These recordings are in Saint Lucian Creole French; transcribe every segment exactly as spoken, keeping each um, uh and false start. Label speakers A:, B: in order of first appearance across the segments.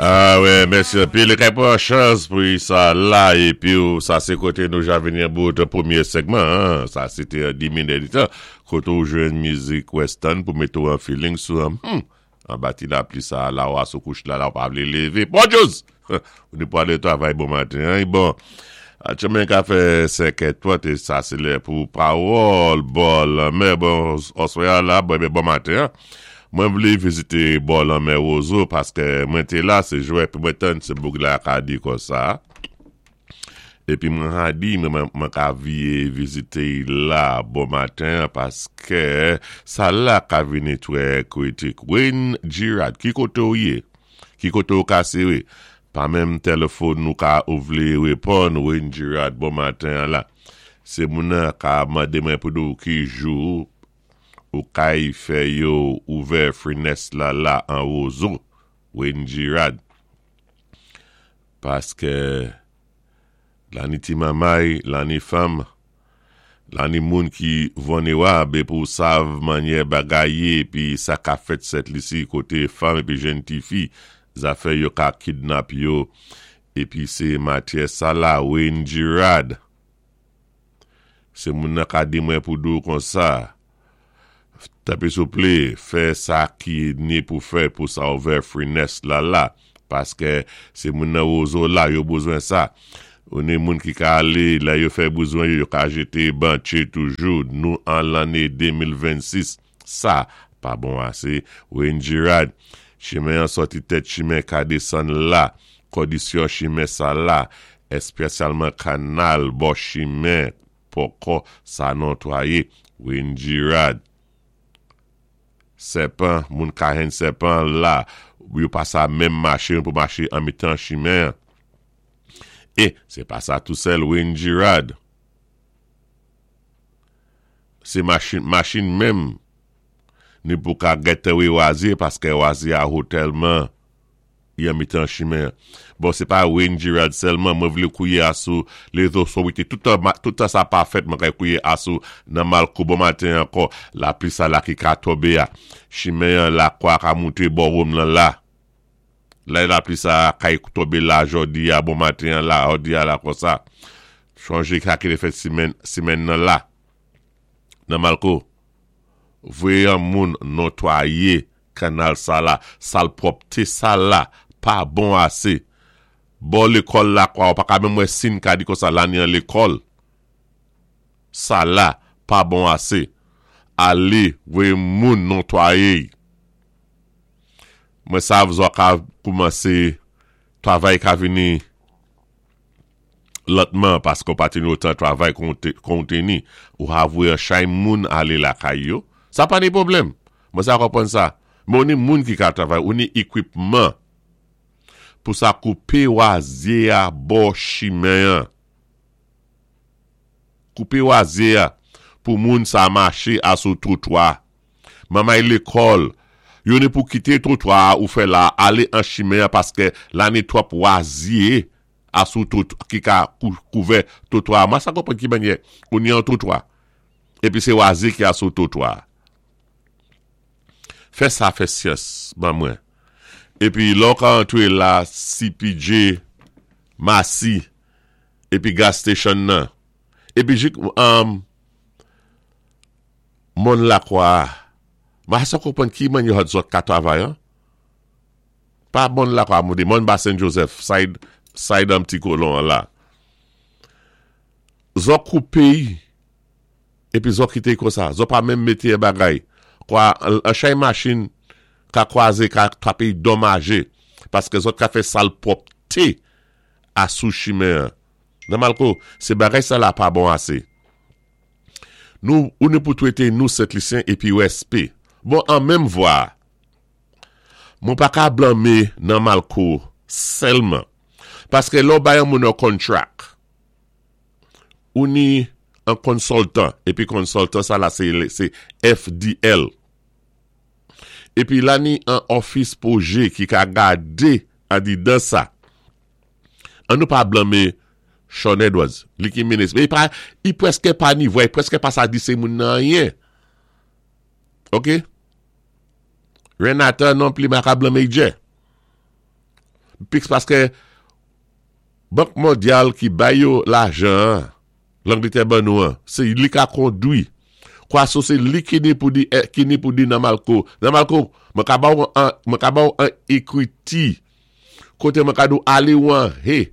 A: Ah wè, mèsi. Pi lé kay pwan chans pou sa la, épi sa sé koté nou ja vini an bout pwémyé segman, sa sé té di minit tan, koté ou jwenn mizik western pou mété an feeling sou an, hmm, an ti lapli sa, la ou sou kouch la, la ou pa vlé lévé. Bonjou! Ou ni pou alé travay bon maten, hein? Bon, chemen ka fè senkè twant, é sa sé lè pou pawòl, bò lanmè, bon, oswè la, bon, bon maten, hein? Mwen vlé vizité bò lanmè Wozo paské mwen té la, sé jwè pi mwen tann sé boug la ka di kon sa. Épi mwen ha di mwen mwen ka vyé vizité la bon maten paské sa la ka vini twè kritik. Wayne Girard, ki koté ou yé? Ki koté ou ka séwé? Pa menm téléfòn nou ka ou vlé réponn Wayne Girard bon maten la. Sé moun ka mandé mwen pou di ou ki jou ou kay fè yo ouvè fenèt la la an Wozo, Wayne Girard. Paské la ni ti mamay, la ni fanm, la ni moun ki vilnérab pou sav manyè bagay yé pi sa ka fèt Sent Lisi koté fanm épi jenn ti fi, zafè yo ka kidnap yo épi sé matyè sa la Wayne Girard. Sé moun nan ka di mwen pou di ou kon sa. Tanpwi souplé, fè sa ki ni pou fè pou sa ouvè fenèt la la. Paské sé moun nan Wozo la, yo bezwen sa. Ou ni moun ki ka alé, la yo fè bezwen yo, yo ka jété bantché toujou. Nou an lanné de mil vennsis. Sa, pa bon asé. Wayne Girard, chimen an sòti tèt chimen ka désann la. Kondisyon chimen sa la, èspésyalman kanal bò chimen poko sa notwayé. Wayne Girard. Sèpan, moun ka hen sèpan la, yo pa sa menm maché pou maché an mitan chimen. É, sé pa sa tou sèl Wayne Girard. Sé machin, machin menm, ni pou ka gètè wé wazye, paské wazye a ho tèlman yon mitan chimen. Bon, sé pa Wayne Girard sèlman, mwen vlé kouwé asou lézo sowite, toutan, toutan sa pa fèt, mwen kay kouwé asou nan Malko bon maten ankò, lapli sa la ki ka tonbé a, chimen la kwa ka mouté bò wòm lan la. La lapli sa kay tonbé la jòdi a bon maten la, jòdi a la kon sa. Chonjé ka ki lé fèt simenn, simenn nan la. Nan Malko. Voyé an moun notwayé kanal sa la, salpwòpté sa la, pa bon asé. Bò lékòl la kwa, ou pa ka menm wè sin ka di kon sa la ni an lékòl. Sa la, pa bon asé. Alé, voyé moun notwayé. Mwen sav zo ka koumansé travay ka vini lantman paské ou pa tini otan travay kon teni. Ou ha voyé an chay moun alé lakay yo. Sa pa ni pwoblèm. Mwen sa konpwann sa. Men ou ni moun ki ka travay, ou ni ékwipman pou sa koupé wazye a bò chimen an. Koupé wazye a pou moun sa maché asou twotwa. Mamay lékòl, yo ni pou kité twotwa ou fè la alé an chimen paské la ni twòp wazye asou twotwa ki ka kouvè twotwa. Mwen sa konpwann ki manyè, ou ni an twotwa. Épi sé wazye ki asou twotwa. Fè sa fè syans, ban mwen. Épi lò ka antwé la C P J Masi, épi gas station nan. Épi jik, um, moun la kwa, ma sa konpwann ki manyè hot zòt ka travay, an? Pa moun la kwa, moun di, moun ba Saint Joseph, side, side an pti kolon an la. Zòt koupé, épi zòt kité kon sa, zòt pa menm mété bagay. Kwa, an chay machin ka kwazé, ka trapé domajé, paské zòt ka fè salpwòpté asou chimen. Nan Malko, sé bagay sa la pa bon asé. Nou, ou ni pou twété nou Sent Lisyen épi U S P. Bon, an menm vwa, mwen pa ka blanmé nan Malko sèlman. Paské lò bay an moun an contract, ou ni an consultant, épi consultant sa la sé, sé F D L. Épi la ni an office pwojé ki ka gadé an di dan sa. An nou pa blanmé Sean Edwards, li ki minis. Men i pa, i pwèské pa ni vwa, i pwèské pa sa di sé moun nan anyen. Ok? Renata non pli ma ka blanmé djè. Piks paskè Bank Mondyal ki bay yo lajan, Langletè ban nou an, sé li ka kondwi. Kwa so sé li ki ni pou di, ki ni pou di Namalco. Namalco, mwen ka ba ou an, mwen ka ba ou an equity. Koté mwen ka di ou alé ou an he.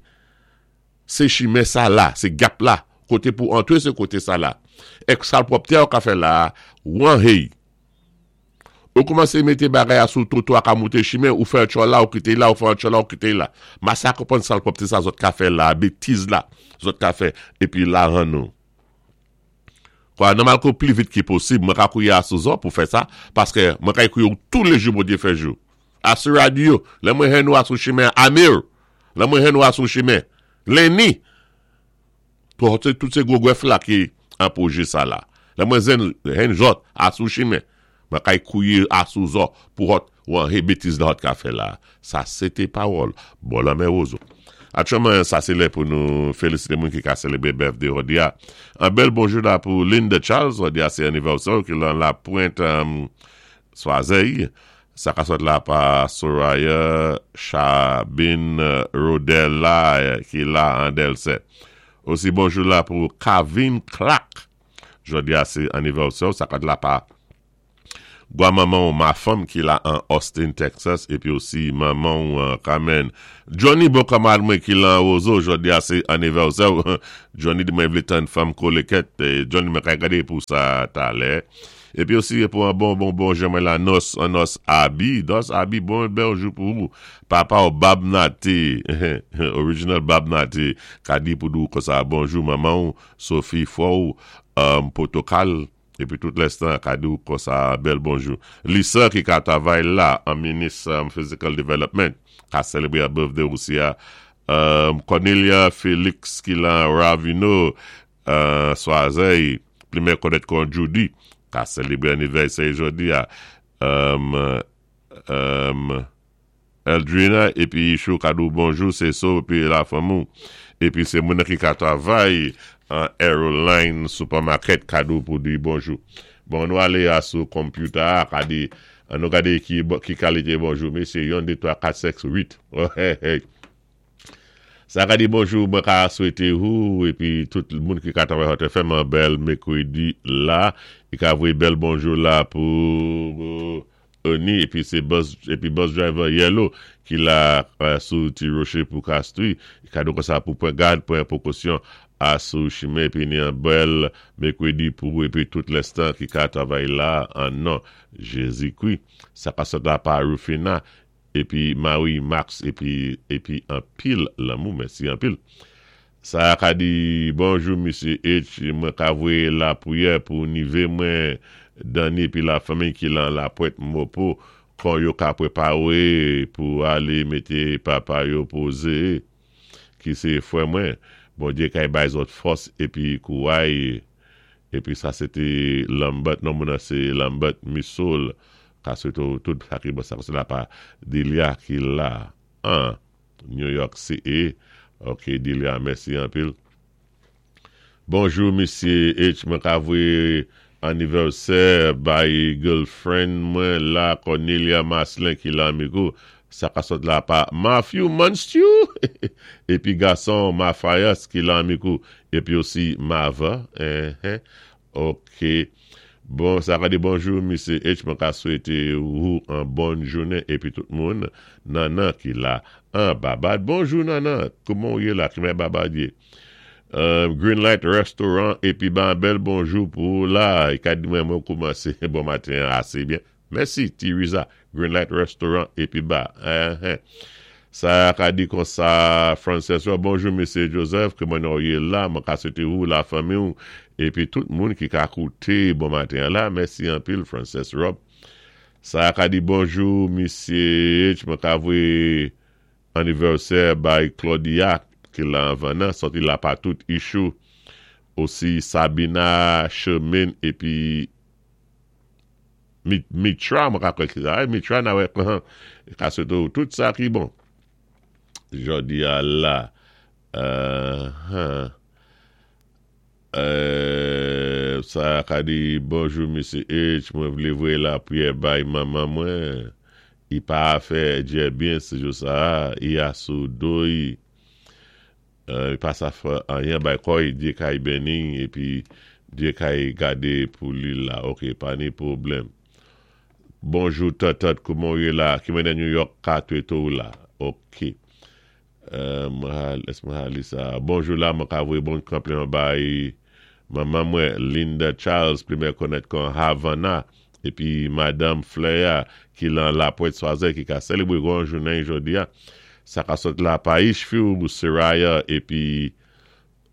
A: Sé chimen sa la, sé gap la. Koté pou antwé sé koté sa la. Èk sa pwòpté ou ka fè la, ou an he. Ou koumansé mété bagay a sou twotwa ka mouté chimen, ou fè an tchò la, ou kité la, ou fè an tchò la, ou kité la. Ma sa konpwann sa pwòpté sa zòt ka fè la, bétiz la, zòt ka fè, épi la ran nou. Kwa, Namalco pli vit ki posib, mwen ka kouwé asou zòt pou fè sa, paskè mwen ka kouwé ou tou lé jou Bondyé fè jou. Asou radyo, lè mwen jwenn nou asou chimen, Amir, lè mwen jwenn nou asou chimen, Lenny, tout, tout sé gwo gwèf la ki an pwojé sa la. Lè mwen zen, jwenn zòt asou chimen, mwen kay kouwé asou zòt pou hot, ou an he bétiz la hot ka fè la. Sa sé pawòl, bon la men wozo. Aktyèlman, sa sé lè pou nou félisité moun ki ka sélébré birthday jòdi a. An bèl bonjou la pou Linda Charles, jòdi a sé anivèsè ki lan la Pointe um, Soazey. Sa ka sot la pa Soraya Chabin Rodella ki la an Delsè. Osi bonjou la pou Kavin Clark. Jòdi a sé anivèsè, sa ka la pa Gwa manman ou ma fanm ki la an Austin, Texas, épi osi manman ou uh, Carmen. Johnny bon kanmarad mwen ki la an Roseau, jòdi a sé anivèsè. Johnny di mwen vlé tann fanm kolekèt. Johnny mwen ka gadé pou sa talè. Épi osi pou an bon bon bon mwen la nos, an nos Abi. Nos Abi, bon bonjou pou ou. Papa ou Bab Nati, original Bab Nati, ka di pou di ou konsa bonjou manman ou, Sophie Fou, um, Protokal. Épi tout lenstan, ka di ou konsa bèl bonjou. Lisa ki ka travay la an minis um, Physical Development, ka sélébré a birthday osi a. Um, Cornelia Félix ki lan Ravino, uh, Soazey, pli mè konèt kon Judy, ka sélébré anivèsè jòdi a. Um, um, Eldrina, épi Chou ka di ou bonjou, sé so, épi la fanm ou. Épi sé moun ki ka travay an Aeroline Supermarket ka di ou pou di bonjou. Bon, nou alé a sou computer, ka di, an nou gadé ki, ki kalité bonjou, mésyé, yon, dé, twa, kat, senk, wit. Sa ka di bonjou, mwen ka swété ou, épi tout moun ki ka travay Hot F M an bèl mékwédi la, i ka voyé bèl bonjou la pou Oni, épi sé bus, épi bus driver Yellow ki la uh, sou ti roché pou Castries, i ka di konsa pou pwan gad, pwan pwékosyon asou chimen, épi ni an bèl mékwédi pou épi tout lenstan ki ka travay la an non Jézi-Kwi. Sa ka sot la pa Rufina, épi Marie Max, épi, épi an pil lanmou, mèsi an pil. Sa ka di, bonjou Misye H, mwen ka voyé la pwiyè pou nivé mwen Dani épi la fanmi ki lan la Pointe Mopo, kon yo ka pwéparé pou alé mété papa yo pozé, ki sé fwè mwen. Bondyé kay bay zòt fòs épi kouway, épi sa sé té Lambert, non moun nan sé Lambert Missoul, ka swété tout sa ki bon sa, sé la pa Delia ki la, an, New York City. Ok, Delia, mèsi an pil. Bonjou, Misye H, mwen ka voyé anivèsè bay girlfriend mwen la, Cornelia Maslin ki la amigo. Sa ka sot la pa Matthew Monstew, épi gason Mafias ki la amigo, épi osi Mava. Eh, eh. Ok. Bon, sa ka di bonjou, Misye H, mwen ka swété ou an bon jounen, épi tout moun, Nana ki la, an Babad. Bonjou, Nana, kouman ou yé la, ki mè Babad yé? Um, Greenlight Restaurant, épi ban bèl bonjou pou la, i ka di mwen mwen koumansé bon maten asé byen. Mèsi, Tiriza, Greenlight Restaurant, épi ba. Eh, eh. Sa ka di konsa, Frances, bonjou, Misye Joseph, kouman ou yé la, mwen ka swété ou la fanmi ou, épi tout moun ki ka kouté bon maten la, mèsi an pil, Frances Rob. Sa ka di bonjou, Misye H, mwen ka voyé anivèsè bay Claudia, ki la anvan nan, soti la pa tout Ishou, osi Sabina, Chemin, épi Mitra, mwen ka kwè ki sa, Mitra na wè, ka swété ou tout sa ki bon. Jòdi a la, uh, uh, sa ka di bonjou, Misye H, mwen vlé voyé la pwiyè bay manman mwen, I pa fè djè byen sé jou sa, i a sou do i, i pa sa fè anyen bay kò'y, Dye kay beni, épi Dye kay gadé pou li la, ok, pa ni pwoblèm. Bonjou tatat, kouman ou yé la, ki mwen New York ka tweto la, ok. Ès mwen li sa. Bonjou la, mwen ka voyé bon konpliman bay manman mwen Linda Charles, pli mwen konnèt kon Havana, épi Madame Flea ki lan la Pointe Soise ki ka sélébwé gran jounen jodi a. Sa ka sot la pa Ishfiu Soraya épi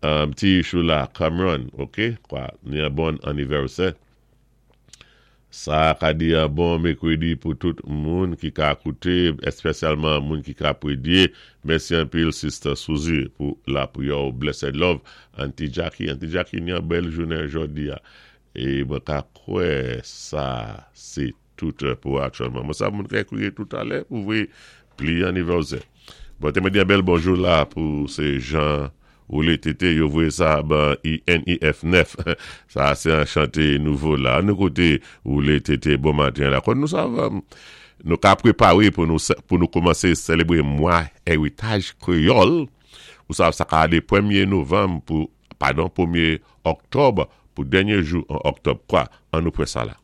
A: um, ti Ishou la Cameron, ok? Kwa, ni an bon anivèsè. Sa ka di an bon mèkwédi pou tout moun ki ka kouté, èspésyalman moun ki ka pwédyé. Mèsi anpil Sister Suzy pou la pou yo blessed love. Auntie Jackie, Auntie Jackie ni an bèl jounen jodi a. É mwen ka kwè sa sé tout pou aktyèlman. Mwen sa moun ka ékwi tout alè pou voyé pli anivèsè. Bon, té mwen di an bèl bonjou la pou sé Jean Roulé Tété, yo voyé sa ban I N I F nèf. Sa sé an chanté nouvo la. Nou kouté Roulé Tété bon maten la. Kon nou sav, nou ka préparé pou nou pou nou koumansé sélébwé mwa éritaj kwéyòl. Ou sav sa ka alé pwémyé novanm pou, padon, pwémyé òktòb pou dènyé jou an òktòb kwa. An nou pran sa la.